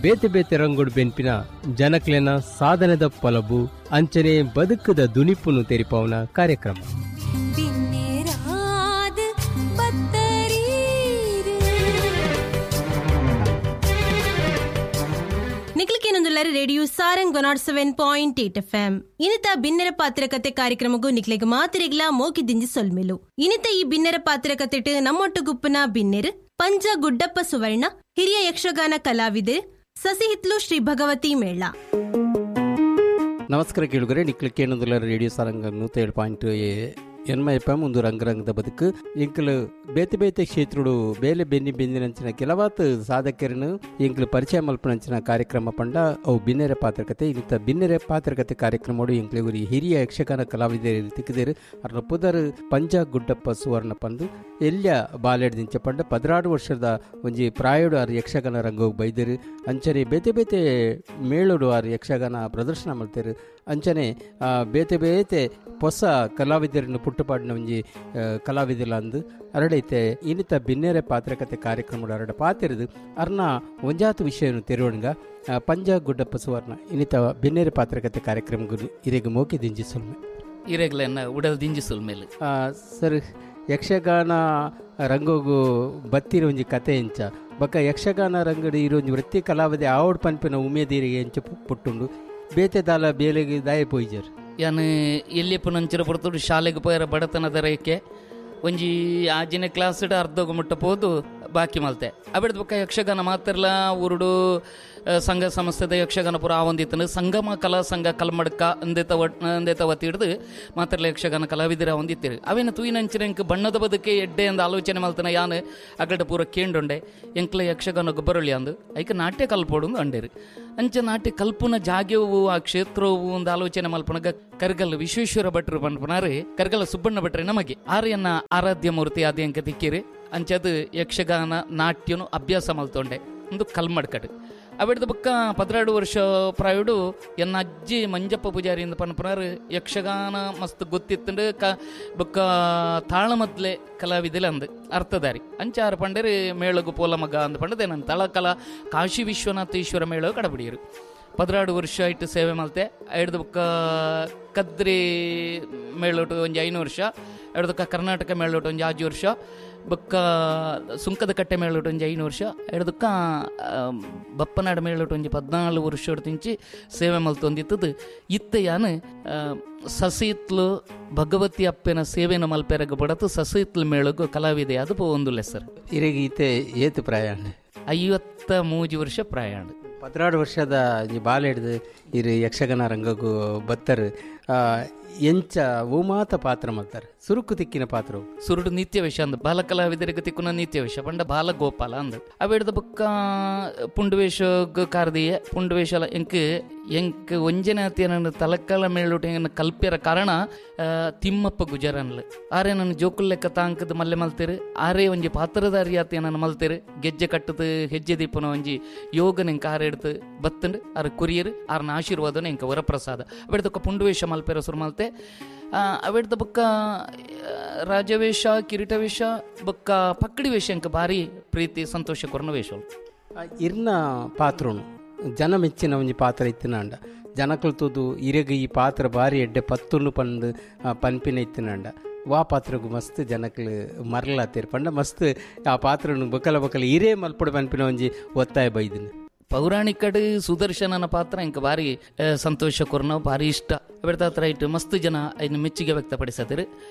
ಬೇತೆ ಬೇತೆ ರಂಗುಡು ಬೆನ್ಪಿನ ಜನಕ್ಲೆನ ಸಾಧನೆದ ಪೊಲಬು ಅಂಚನೆ ಬದುಕದ ದುನಿಪುನು ತೆರಿಪಾವನ ಕಾರ್ಯಕ್ರಮ. ರೇಡಿಯೋ ಸಾರಂಗ್ 107.8 FM ಇನ್ನಿತ ಬಿನ್ನೆರ ಪಾತ್ರ ಕತೆ ಕಾರ್ಯಕ್ರಮಗೂ ನಿಕ್ಲೆಗ್ ಮಾತಿರಿಗ್ಲಾ ಮೋಕಿ ದಿಂಜಿ ಸೊಲ್ಮೆಲು. ಇನ್ನಿತ ಈ ಬಿನ್ನೆರ ಪಾತ್ರ ಕತೆಟ್ ನಮ್ಮೊಟ್ಟು ಗುಪ್ಪನ ಬಿನ್ನೆರ್ ಪಂಜ ಗುಡ್ಡಪ್ಪ ಸುವರ್ಣ, ಹಿರಿಯ ಯಕ್ಷಗಾನ ಕಲಾವಿದೆ ಸಸಿಹಿತ್ಲು ಶ್ರೀ ಭಗವತಿ ಮೇಳ. ನಮಸ್ಕಾರ ಕೇಳುಗರೆ, ನಿಕ್ಲೆ ಕೇಳುವುದಿಲ್ಲ ರೇಡಿಯೋ ಸಾರಂಗ್ 107.8 ಎನ್ಮ ಎಫ್ ಎಂ ಒಂದು ರಂಗರಂಗದ ಬದುಕು. ಎಂಕಲು ಬೇತೆ ಬೇತೆ ಕ್ಷೇತ್ರಡು ಬೇಲೆ ಬೆನ್ನಿ ಬೆಂದಿನಂಚಿನ ಕೆಲವಾತ್ ಸಾಧಕರನ್ನು ಎಂಕಲು ಪರಿಚಯ ಮಲ್ಪನಂಚಿನ ಕಾರ್ಯಕ್ರಮ ಪಂಡ ಅವು ಬಿನ್ನೆರೆ ಪಾತ್ರಕತೆ. ಇಂಥ ಬಿನ್ನೆರೆ ಪಾತ್ರಕತೆ ಕಾರ್ಯಕ್ರಮಡು ಎಂಕಲು ಗುರಿ ಹಿರಿಯ ಯಕ್ಷಗಾನ ಕಲಾವಿದರು ತಿಕ್ಕಿದರು. ಅರ್ನ ಪುದರ್ ಪಂಜ ಗುಡ್ಡಪ್ಪ ಸುವರ್ಣ ಪಂದು ಎಲ್ಯ ಬಾಲೆಡ್ದಿಂಚ ಪಂಡ 16 ವರ್ಷದ ಒಂಜಿ ಪ್ರಾಯೋಡು ಆರು ಯಕ್ಷಗಾನ ರಂಗೋಗಿ ಬೈದರು. ಅಂಚನೆ ಬೇತೆ ಬೇತೆ ಮೇಳೋಡು ಆರು ಯಕ್ಷಗಾನ ಪ್ರದರ್ಶನ ಮಲ್ತೇರು. ಅಂಚನೆ ಬೇತೆ ಬೇತೆ ಹೊಸ ಕಲಾವಿದರನ್ನು ಪುಟ್ಟುಪಾಡಿನ ಒಂಜಿ ಕಲಾವಿದಲ್ಲ ಅಂದು ಅರಡೈತೆ. ಇನ್ನಿತ ಬಿನ್ನೆರೆ ಪಾತ್ರಕತೆ ಕಾರ್ಯಕ್ರಮದ ಅರಡ ಪಾತಿರದು ಅರ್ನ ಒಂಜಾತು ವಿಷಯವನ್ನು ತೆರವಣಗ ಪಂಜ ಗುಡ್ಡಪ್ಪ ಸುವರ್ಣ ಇನ್ನಿತ ಬಿನ್ನೆರೆ ಪಾತ್ರಕತೆ ಕಾರ್ಯಕ್ರಮ ಇರೆಗ್ ಮೋಕಿ ದಿಂಜಿ ಸುಲ್ಮೆ ಇರೆಗ್ಲೆನ್ನ ಉಡಲ್ ದಿಂಜಿ ಸುಲ್ಮೇಲೆ. ಸರ್, ಯಕ್ಷಗಾನ ರಂಗೋಗು ಬತ್ತಿರ ಒಂಜಿ ಕತೆ ಎಂಚ ಬೊಕ್ಕ ಯಕ್ಷಗಾನ ರಂಗಡಿ ಇರೋ ಒಂಜಿ ವೃತ್ತಿ ಕಲಾವಿದೆ ಆವಡ್ ಪನ್ಪಿನ ಉಮೇದಿರಿಗೆ ಎಂಚ ಪುಟ್ಟುಂಡು ಬೇತೆ ದಾಲ ಬೇಲೆಗೆ ದಾಯ ಪೋಯ್ಜರ್. ಯಾನ್ ಎಲ್ಲಿಯಪ್ಪ ನಂಚಿನ ಪೊರ್ತುಡು ಶಾಲೆಗೆ ಪೋಯರ ಬಡತನದ ರೇಖೆ ಒಂಜಿ ಆಜಿನ ಕ್ಲಾಸ್ಡ್ ಅರ್ಧೋಗ ಮುಟ್ಟ ಪೋದು ಬಾಕಿ ಮಲ್ತೆ. ಅಬಿಡ್ದ ಬೊಕ್ಕ ಯಕ್ಷಗಾನ ಮಾತ್ರಲ ಊರುಡು ಸಂಘ ಸಂಸ್ಥೆದ ಯಕ್ಷಗಾನ ಪೂರ ಆವೊಂದಿತ್ತನು. ಸಂಗಮ ಕಲಾ ಸಂಘ ಕಲ್ಮಡ್ಕ ಅಂದೇತ ವತಿ ಹಿಡ್ದು ಮಾತ್ರಲ ಯಕ್ಷಗಾನ ಕಲಾವಿದರ ಹೊಂದಿತ್ತಿರು. ಅವೇನು ತೂಯಿನಂಚಿನ ಎಂಕ್ ಬಣ್ಣದ ಬದುಕೆ ಎಡ್ಡೆ ಅಂದ ಆಲೋಚನೆ ಮಲ್ತನ ಯಾನ್ ಅಗಡ ಪೂರ ಕೇಂಡೊಂಡೆ ಎಂಕ್ಲ ಯಕ್ಷಗಾನ ಗೊಬ್ಬರೊಳ್ಳಿ ಅಂದು ಐಕ ನಾಟ್ಯ ಕಲ್ಪೋಡು ಅಂಡೇರು. ಅಂಚ ನಾಟ್ಯ ಕಲ್ಪುನ ಜಾಗ್ಯವು ಆ ಕ್ಷೇತ್ರವು ಒಂದು ಆಲೋಚನೆ ಮಲ್ಪನಗ ಕರ್ಗಲ್ ವಿಶ್ವೇಶ್ವರ ಭಟ್ರು ಪನ್ಪನಾರು ಕರ್ಗಲ ಸುಬ್ಬಣ್ಣ ಭಟ್ರೆ ನಮಗೆ ಆರ್ಯನ್ನ ಆರಾಧ್ಯ ಮೂರ್ತಿ ಆದಿ ಅಂಕ ತಿಕ್ಕಿರಿ. ಅಂಚದು ಯಕ್ಷಗಾನ ನಾಟ್ಯನು ಅಭ್ಯಾಸ ಮಲ್ತೊಂಡೆ ಒಂದು ಕಲ್ಮಡ್ಕಡು. ಅವಿಡ್ದ ಬೊಕ್ಕ 12 ವರ್ಷ ಪ್ರಾಯುಡು ಎನ್ನ ಅಜ್ಜಿ ಮಂಜಪ್ಪ ಪೂಜಾರಿ ಇಂದ ಪನ್ಪನಾರು ಯಕ್ಷಗಾನ ಮಸ್ತ್ ಗೊತ್ತಿತ್ತಂಡು ಕ ಬೊಕ್ಕ ತಾಳಮದ್ಲೆ ಕಲಾವಿದೆಲೆ ಅಂದು ಅರ್ಥಧಾರಿ. ಅಂಚಾರು ಪಂಡೇರಿ ಮೇಳಗು ಪೋಲ ಮಗ ಅಂದ ಪಂಡದೆ ನನ್ನ ತಳಕಲಾ ಕಾಶಿ ವಿಶ್ವನಾಥೇಶ್ವರ ಮೇಳ ಕಡಬಿಡಿಯರು. 12 ವರ್ಷ ಇಟ್ಟು ಸೇವೆ ಮಲ್ತೆ. ಐಡ್ದ ಬೊಕ್ಕ ಕದ್ರಿ ಮೇಳೋಟು ಒಂಜಿ 5 ವರ್ಷ, ಐಡ್ದಕ್ಕ ಕರ್ನಾಟಕ ಮೇಳೋಟು ಒಂಜಿ 5 ವರ್ಷ, ಬೊಕ್ಕ ಸುಂಕದ ಕಟ್ಟೆ ಮೇಳೋಟು ಒಂಜಿ 5 ವರ್ಷ, ಐಡ್ದಕ್ಕ ಬಪ್ಪನಾಡು ಮೇಳೋಟು ಒಂಜಿ 14 ವರ್ಷ ತಿಂಚಿ ಸೇವೆ ಮಲ್ತೊಂದಿತ್ತದು. ಇತ್ತೆ ಯಾನು ಸಸಿತ್ಲು ಭಗವತಿ ಅಪ್ಪನ ಸೇವೆನ ಮಲ್ಪೆರಗ ಬಡತು ಸಸಿತ್ಲು ಮೇಳಗು ಕಲಾವಿದೆ ಅದು ಪೋವೊಂದುಲ್ಲೆ ಸರ್. ಇರೆಗ್ ಇತ್ತೆ ಏತು ಪ್ರಾಯ? 53 ವರ್ಷ ಪ್ರಾಯ. 16 ವರ್ಷದ ಬಾಲೆ ಹಿಡ್ದು ಇರು ಯಕ್ಷಗಾನ ರಂಗಕ್ಕೂ ಬತ್ತರು. ಎಂಚ ಓಮಾತ ಪಾತ್ರ ಮಲ್ತಾರೆ ಸುರುಕು ತಿಕ್ಕಿನ ಪಾತ್ರವು ಸುರುಡು ನಿತ್ಯ ವೇಷ ಅಂದ್ ಬಾಲ ಕಲಾವಿದರಿಗೆ ತಿಕ್ಕುನ ನಿತ್ಯ ವೇಷ ಪಂಡ ಬಾಲ ಗೋಪಾಲ ಅಂದ್. ಅವೆಡ್ದ ಬೊಕ್ಕ ಪುಂಡುವೇಷ ಕಾರ್ದಿಯೆ ಪುಂಡುವೇಷ ಎಂಕ್ ಎಂಕ್ ಒಂಜನಾತಿ ನನ್ನ ತಲಕಾಲ ಮೇಳುಟ ಕಲ್ಪ್ಯರ ಕಾರಣ ತಿಮ್ಮಪ್ಪ ಗುಜರನ್ಲು ಆರೆ ನನ್ನ ಜೋಕುಲ್ ಲೆಕ್ಕ ತಾಂಕದ ಮಲ್ಲೆ ಮಲ್ತೇರು. ಆರೇ ಒಂಜಿ ಪಾತ್ರಧಾರಿಯಾತಿ ನನ್ನ ಮಲ್ತೇರು. ಗೆಜ್ಜೆ ಕಟ್ಟದು ಹೆಜ್ಜೆ ದೀಪನ ಒಂಜಿ ಯೋಗ ನೆಂಕ ಆರೆ ಎಡ್ತು ಬತ್ತಂಡು ಆರು ಕುರಿಯರು ಆರ್ನ ಆಶೀರ್ವಾದನ ಎಂಕ ವರಪ್ರಸಾದ. ಅವೆಡ್ದೊಕ್ಕ ಪುಂಡುವೇಷ ಮಲ್ಪೆರ ಸುರು ಮಲ್ತೆ. ಅವೆಡ್ದ ಬೊಕ್ಕ ರಾಜವೇಷ ಕಿರೀಟವೇಷ ಬೊಕ್ಕ ಪಕ್ಕಡಿ ವೇಷ ಎಂಕ ಭಾರಿ ಪ್ರೀತಿ ಸಂತೋಷ ಕೊರನ ವೇಷ. ಇರ್ನ ಪಾತ್ರನು ಜನ ಮೆಚ್ಚಿನ ಒಂಜಿ ಪಾತ್ರ ಇತ್ತಿನಾಂಡ ಜನಕುಲು ತೂದು ಇರೆಗ್ ಈ ಪಾತ್ರ ಭಾರಿ ಎಡ್ಡೆ ಪತ್ತುನು ಪಂದು ಪನ್ಪಿನ ಇತ್ತಿನಾಂಡ ವಾ ಪಾತ್ರಗೂ ಮಸ್ತ್ ಜನಕಲು ಮರಲಾತೇರು ಪಂಡ ಮಸ್ತ್ ಆ ಪಾತ್ರನು ಬೊಕಲ ಬೊಕಲ ಇರೇ ಮಲ್ಪಡು ಪನ್ಪಿನ ಒಂಜಿ ಒತ್ತಾಯ ಬೈದಿನ. ಪೌರಾಣಿಕಡು ಸುದರ್ಶನನ ಪಾತ್ರ ಇಂಕ ಭಾರಿ ಸಂತೋಷ ಕೊರ್ನ ಭಾರಿ ಇಷ್ಟ. ಅವೆಡ್ದ ಹತ್ರ ಇಟ್ಟು ಮಸ್ತ್ ಜನ ಇನ್ನು ಮೆಚ್ಚುಗೆ ವ್ಯಕ್ತಪಡಿಸತಿರು.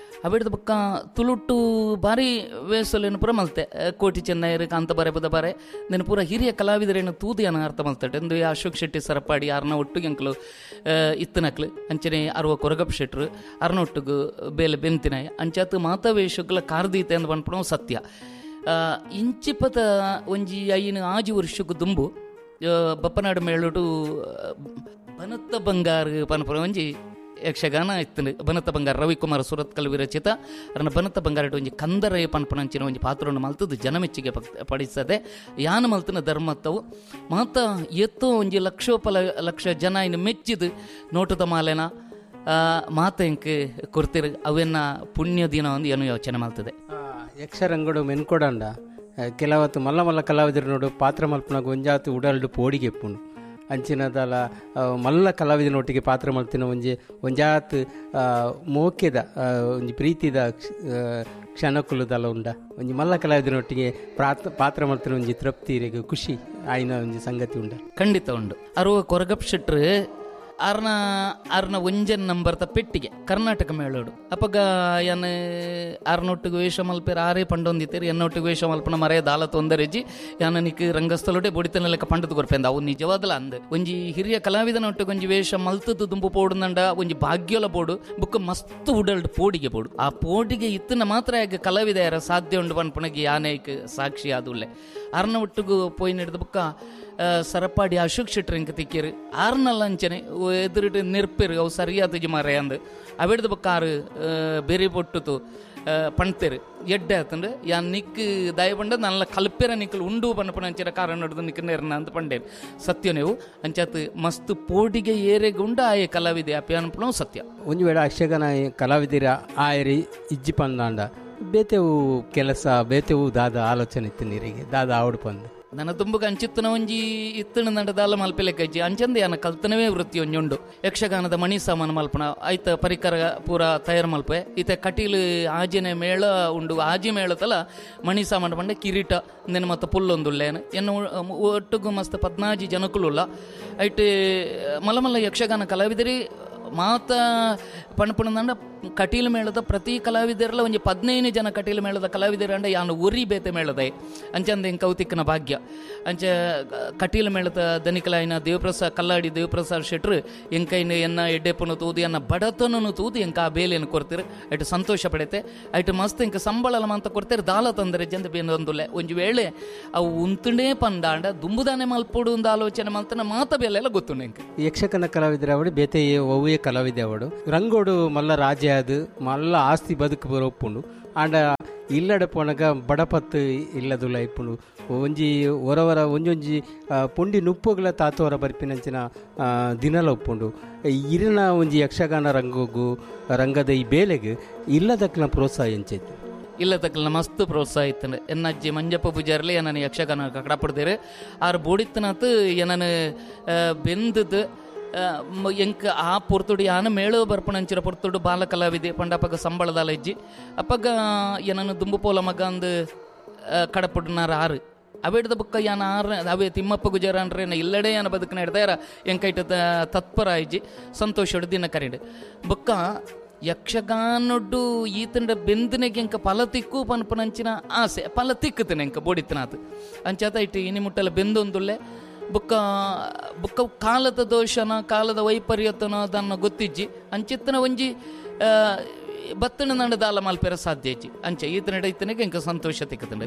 ಅವೆಡ್ದ ಬೊಕ್ಕ ತುಳುಟು ಭಾರಿ ವೇಸಲೇನು ಪೂರ ಮಲ್ತೆ. ಕೋಟಿ ಚೆನ್ನೈರು ಕಾಂತ ಬಾರೆ ಬುದ ಬಾರೆ ನೆನ ಪೂರ ಹಿರಿಯ ಕಲಾವಿದರೇನು ತೂದು ಏನ ಅರ್ಥ ಮಲ್ತಟೆ ಅಂದು ಅಶೋಕ್ ಶೆಟ್ಟಿ ಸರಪಾಡಿ ಆರ್ನ ಒಟ್ಟಿಗೆ ಅಂಕಲು ಇತ್ತನಕ್ಲು ಅಂಚನೆ ಅರ್ವ ಕೊರಗಪ್ಪ ಶೆಟ್ರು ಅರ್ನ ಒಟ್ಟಿಗೆ ಬೇಲೆ ಬೆಂತಿನಾಯ ಅಂಚಾತು ಮಾತಾ ವೇಷಗಳ ಕಾರ್ದೀತೆ ಅಂದ್ ಪನ್ಪುಣ ಸತ್ಯ. ಇಂಚಿಪದ ಒಂಜಿ 5 ವರ್ಷಕ್ಕೂ ದುಂಬು ಬಪ್ಪನಾಡು ಮೇಳುಟು ಬನತ್ತ ಬಂಗಾರ ಪನ್ಪುನ ಒಂಜಿ ಯಕ್ಷಗಾನ ಇತ್ತು. ಬನತ್ತ ಬಂಗಾರ ರವಿಕುಮಾರ್ ಸುರತ್ಕಲ್ ವಿರಚಿತ ಅರನ ಬನತ್ತ ಬಂಗಾರ ಒಂಜಿ ಕಂದರಯ ಪನ್ಪನಂಚಿನ ಒಂಜಿ ಪಾತ್ರವನ್ನು ಮಲ್ತದ್ದು ಜನಮೆಚ್ಚಿಗೆ ಪಡಿಸದೆ ಯಾನ ಮಲ್ತನ ಧರ್ಮತ್ತವು ಮಾತ ಎತ್ತೋ ಒಂಜಿ ಲಕ್ಷೋಪಲ ಲಕ್ಷ ಜನ ಇನ್ನು ಮೆಚ್ಚಿದು ನೋಟದ ಮಾಲೆನ ಮಾತ ಎಂಕ್ ಕೊರ್ತಿರು ಅವೆನ್ನ ಪುಣ್ಯ ದಿನ ಒಂದು ಏನು ಯೋಚನೆ ಮಾಡ್ತದೆ. ಯಕ್ಷರಂಗಡು ಮೆನ್ಕೊಡಂಡ ಕೆಲವತ್ತು ಮಲ್ಲ ಮಲ್ಲ ಕಲಾವಿದರು ನೋಡು ಪಾತ್ರ ಮಲ್ಪನಾಗ ಒಂಜಾತು ಉಡಲ್ಡು ಪೋಡಿಗೆ ಎಪ್ಪುಂಡು ಅಂಚಿನದಲ ಮಲ್ಲ ಕಲಾವಿದನೊಟ್ಟಿಗೆ ಪಾತ್ರ ಮಲ್ತಿನ ಒಂಜಿ ಒಂಜಾತ್ ಮೋಕೆದ ಒಂಜಿ ಪ್ರೀತಿದ ಕ್ಷಣಕುಲುದಲ ಉಂಡ ಒಂಜಿ ಮಲ್ಲ ಕಲಾವಿದನೊಟ್ಟಿಗೆ ಪಾತ್ರ ಮಲ್ತಿನ ಒಂಜಿ ತೃಪ್ತಿ ಇರೆಗ್ ಖುಷಿ ಆಯ್ನ ಒಂಜಿ ಸಂಗತಿ ಉಂಡ. ಖಂಡಿತ ಉಂಡು. ಅರುವ ಕೊರಗಪ್ ಶೆಟ್ರು ಆರ್ನ ಆರ್ನ ಒಂಜನ್ ನಂಬರ್ತ ಪೆಟ್ಟಿಗೆ ಕರ್ನಾಟಕ ಮೇಳೋಡು ಅಪಗ ಯಾನ್ ಆರ್ನೊಟ್ಟಿಗೆ ವೇಷ ಮಲ್ಪೇರು ಆರೇ ಪಂಡೊಂದಿತ್ತೇರು ಎನ್ನೊಟ್ಟಿಗೆ ವೇಷ ಮಲ್ಪನ ಮರೆಯ ದಾಲ ತೊಂದರೆಜಿ ಯಾನ ನಿಕ್ ರಂಗಸ್ಥಳೋಡೆ ಬೊಡಿತನ ಲೆಕ್ಕ ಪಂಡದು ಕೊರ್ಪೆಂದ ಅವು ನಿಜವಾದಲ ಅಂದ್ ಒಂಜಿ ಹಿರಿಯ ಕಲಾವಿದನೊಟ್ಟಿಗೆ ಒಂಜಿ ವೇಷ ಮಲ್ತದ್ದು ದುಂಬು ಪೋಡುನಂಡ ಒಂಜಿ ಭಾಗ್ಯಲ ಬೋಡು ಬುಕ್ಕ ಮಸ್ತ್ ಉಡಲ್ಡ್ ಪೋಡಿಗೆ ಬೋಡು ಆ ಪೋಡಿಗೆ ಇತ್ತನ ಮಾತ್ರ ಯಾಕೆ ಕಲಾವಿದ ಯಾರ ಸಾಧ್ಯ ಉಂಡು ಪನ್ಪುನಗೆ ಯಾನೇಕ್ ಸಾಕ್ಷಿ ಆದುಲ್ಲೆ ಆರ್ನ ಒಟ್ಟಿಗೂ ಪೋಯಿ ನಡೆದ ಬುಕ್ಕ ಸರಪಾಡಿ ಅಶೋಕ್ ಶೆಟ್ರ್ ಇಂಕ ತಿಕ್ಕಿರು ಆರ್ನಲ್ಲ ಅಂಚನೆ ಎದುರಿಟ್ಟು ನೆರ್ಪೇರು ಅವು ಸರಿಯಾದ ಮಾರೆ ಅಂದು ಅವೆಡ್ದು ಬೊಕ್ಕ ಆರು ಬೇರೆ ಪೊಟ್ಟುತು ಪಣ್ತೇರು ಎಡ್ಡೆ ಆತಂಡು ಯಾನ್ ನಿಕ್ ದಯ ಪಂಡ ನಲ್ಲ ಕಲ್ಪೆರ ನಿಕ್ಕಲು ಉಂಡು ಪನ್ಪುನ ಅಂಚಿನ ಕಾರಣ ಹಿಡ್ದು ನಿಕ್ ನೆರ್ನ ಅಂತ ಪಂಡೇರು ಸತ್ಯ ನೀವು ಅಂಚಾತ್ ಮಸ್ತ್ ಪೋಡಿಗೆ ಏರೆಗೆ ಉಂಡ ಆಯೆ ಕಲಾವಿದೆ ಅಪ್ಪ ಅನ್ಪುಣ ಸತ್ಯ. ಒಂಜಿ ವೇಳೆ ಯಕ್ಷಗಾನ ಕಲಾವಿದಿರ ಆಯರಿ ಇಜ್ಜಿ ಪಂದಾಂಡ ಬೇತೆವು ಕೆಲಸ ಬೇತೆವು ದಾದ ಆಲೋಚನೆ ಇತ್ತು ನೀರಿಗೆ ದಾದ ಆವಡು ಪಂದು ನನ್ನ ತುಂಬುಗ ಅಂಚಿತ್ತನ ಒಂಜಿ ಇತ್ತಣ ನಡೆದಾಲ ಮಲ್ಪೆಲೆಕ್ಕಜ್ಜಿ ಅಂಚಂದ ಯಾನ ಕಲ್ತನವೇ ವೃತ್ತಿ ಒಂಜುಂಡು ಯಕ್ಷಗಾನದ ಮಣಿ ಸಾಮಾನು ಮಲ್ಪಣ ಐತ ಪರಿಕರ ಪೂರ ತಯಾರು ಮಲ್ಪೆ ಈತ ಕಟೀಲು ಆಜಿನ ಮೇಳ ಉಂಡು ಆಜಿ ಮೇಳತಲ ಮಣಿ ಸಾಮಾನು ಪಂಡ ಕಿರೀಟ ನಿನ್ನ ಮತ್ತು ಪುಲ್ಲೊಂದುಲ್ಲೇನು ಎನ್ನು ಒಟ್ಟುಗು ಮಸ್ತ್ 14 ಜನಕುಲುಲ್ಲ ಐಟ್ ಮಲ್ಲ ಮಲ್ಲ ಯಕ್ಷಗಾನ ಕಲಾವಿದರಿ ಮಾತ ಪಣಪುಣದಂಡ ಕಟೀಲು ಮೇಳದ ಪ್ರತಿ ಕಲಾವಿದರಲ್ಲ ಒಂಜಿ 15 ಜನ ಕಟೀಲು ಮೇಳದ ಕಲಾವಿದರ ಅಂಡ ಯಾನು ಒರಿ ಬೇತೆ ಮೇಳದ ಅಂಚಂದ ಎಂಕ್ ಕೌತಿಕ್ಕನ ಭಾಗ್ಯ ಅಂಚ ಕಟೀಲು ಮೇಳದ ದನಿಕಲಾಯಿನ ದೇವಪ್ರಸಾದ್ ಕಲ್ಲಾಡಿ ದೇವಪ್ರಸಾದ್ ಶೆಟ್ರು ಎಂಕೈನ ಎನ್ನ ಎಡ್ಡೆಪ್ಪನು ತೂದು ಎನ್ನ ಬಡತನನು ತೂದು ಎಂಕ ಆ ಬೇಲೆಯನ್ನು ಕೊಡ್ತೀರು ಐಟು ಸಂತೋಷ ಪಡೆತೆ ಐಟು ಮಸ್ತ್ ಎಂಕ ಸಂಬಳಲ ಅಂತ ಕೊಡ್ತೀರು ದಾಲ ತಂದರೆ ಜಂದ ಬೇನೊಂದುಲ್ಲೆ ಒಂಜಿ ವೇಳೆ ಅವು ಉಂತುಂಡೇ ಪಂದಾಂಡ ದುಂಬುದಾನೆ ಮಲ್ಪೊಡು ಒಂದು ಆಲೋಚನೆ ಮಲ್ತನ ಮಾತ ಬೇಲೆ ಎಲ್ಲ ಗೊತ್ತುಂಡು ಎಂಕ. ಯಕ್ಷಗಾನ ಕಲಾವಿದರ ಅವಡು ಬೇತೆ ಒವ್ವೇ ಕಲಾವಿದೆ ಅವಡು ರಂಗೋಡು ಮಲ್ಲ ರಾಜ್ಯ ಅದು ಮಲ್ಲ ಆಸ್ತಿ ಬದುಕು ಬರೋಪ್ಪುಂಡು ಆಂಡ ಇಲ್ಲಡೆ ಪೋನಗ ಬಡಪತ್ತು ಇಲ್ಲದುಲ್ಲ ಇಪ್ಪುಂಡು ಒಂಜಿ ಹೊರವರ ಒಂಜೊಂಜಿ ಪುಂಡಿ ನುಪ್ಪುಗಳ ತಾತೋರ ಬರ್ಪಿನಂಚಿನ ದಿನಲ ಉಪ್ಪುಂಡು ಇರಿನ ಒಂಜಿ ಯಕ್ಷಗಾನ ರಂಗೋಗು ರಂಗದ ಈ ಬೇಲೆಗೆ ಇಲ್ಲದಕ್ಕನ ಪ್ರೋತ್ಸಾಹ ಎಂಚೈತು ಇಲ್ಲ ತಕ್ಕಲ್ನ ಮಸ್ತ್ ಪ್ರೋತ್ಸಾಹ ಇತ್ತು. ಎನ್ನ ಅಜ್ಜಿ ಮಂಜಪ್ಪ ಪೂಜಾರ್ಲಿ ನನ್ನ ಯಕ್ಷಗಾನ ಕಡಪಡ್ದೇರು ಆರು ಬೋಡಿತ್ತನಾತು ಏನನು ಬೆಂದದ್ದು ಎಂಕ್ ಆ ಪೊರ್ತುಡು ಯಾನ ಮೇಳು ಬರ್ಪಣಂಚಿರ ಪೊರ್ತುಡು ಬಾಲ ಕಲಾವಿದೆ ಪಂಡ ಅಪ್ಪಗ ಸಂಬಳದಾಲ ಇಜ್ಜಿ ಅಪ್ಪಗ ಏನನ್ನು ದುಂಬು ಪೋಲ ಮಗ ಅಂದು ಕಡಪುಡ್ನಾರ ಆರು ಅವೆಡ್ದ ಬುಕ್ಕ ಯಾನ ಆರು ಅವೇ ತಿಮ್ಮಪ್ಪ ಗುಜಾರನ್ರೆ ಇಲ್ಲಡೆ ಯಾನ ಬದುಕನ ಹಿಡ್ದಾರ ಎಂಕೈಟ ತತ್ಪರ ಇಜ್ಜಿ ಸಂತೋಷ ದಿನ ಕರೀಡು ಬುಕ್ಕ ಯಕ್ಷಗಾನೊಡ್ಡು ಈತಂಡ ಬೆಂದನೆಗೆ ಎಂಕ ಫಲ ತಿಕ್ಕು ಪನ್ಪನಂಚಿನ ಆಸೆ ಫಲ ತಿಕ್ಕುತ್ತನೆ ಎಂಕ ಬೋಡಿತ್ತನಾತು ಅಂಚಾತ ಇಟ್ಟು ಇನಿ ಮುಟ್ಟಲ ಬೆಂದೊಂದುಲ್ಲೆ ಬುಕ್ಕ ಬುಕ್ಕ ಕಾಲದ ದೋಷನ ಕಾಲದ ವೈಪರ್ಯತನ ಅದನ್ನು ಗೊತ್ತಿಜ್ಜಿ ಅಂಚಿತ್ತನ ಒಂಜಿ ಬತ್ತನ ನಡ ದಾಲ ಮಲ್ಪೆರ ಸಾಧ್ಯ ಇಜ್ಜಿ ಅಂಚೆ ಈತನಡ ಇತ್ತನಿಗೆ ಎಂಕ ಸಂತೋಷ ತಿಕ್ಕುತ್ತಂಡೆ.